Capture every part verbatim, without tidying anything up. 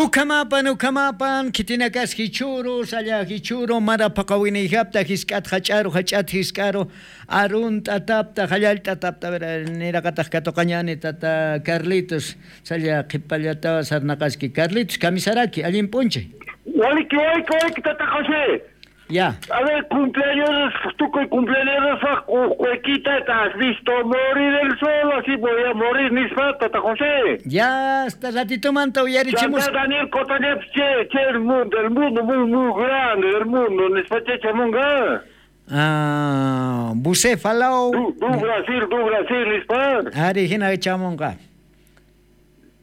Ukhamapan ukhamapan khitinakas jichhuru salla jichhuru mara phaqawiniyjapta jisk'at jach'aru jach'at jisk'aru, arunt'atapta jallallt'atapta niraqatax katuqañani tata carlitos. Salla qhipallatawa sarnaqaski carlitos kamisaraki allin p'unchay. Waliki waliki waliki tata josé. Ya. A ver cumpleaños tukuy cumpleaños faq uqquykita tas visto morir el sol así voy a morir nispa tata josé. Ya asta ratitomanta uyarichimus. Daniel cotañapis che che el mundo el mundo muy muy grande el mundo nispa chechamunga. Ah, bucefalaw. Du brasil du brasil nispa. Ari hina chamunga.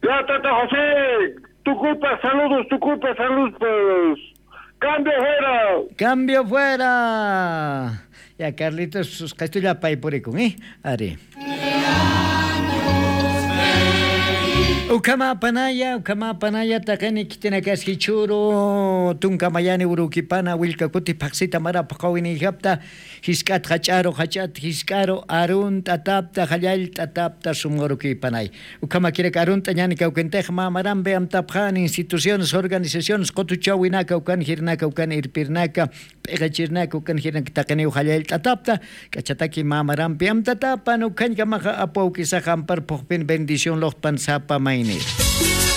Ya tata josé. Tukupa saludos tukupa saludos. Cambio fuera. Cambio fuera. Ya carlitos sus qestullapay purikun eh. Ari. Ukhamapanaya ukhamapanaya taqini khitinakas jichhuru tunka mayani urukipana willka kuti phaqsita marapaq qawiniyjapta. Jisk'at jach'aru jach'at jisk'aru arunt'atapta jallallt'atapta sumurukiypanay. Ukhamakirak arunt'añani kawkintix mamarampi amtapxan instituciones organizaciones qutuchawinaka ukan jirnaka ukan irpirnaka p'iqachirnaka ukan jirnaka taqiniw jallallt'atapta. K'achataki mamarampi amtatapan ukhañkamaxa apwawkisaxa ampar phuqpin bendición luqpan sapa maynir.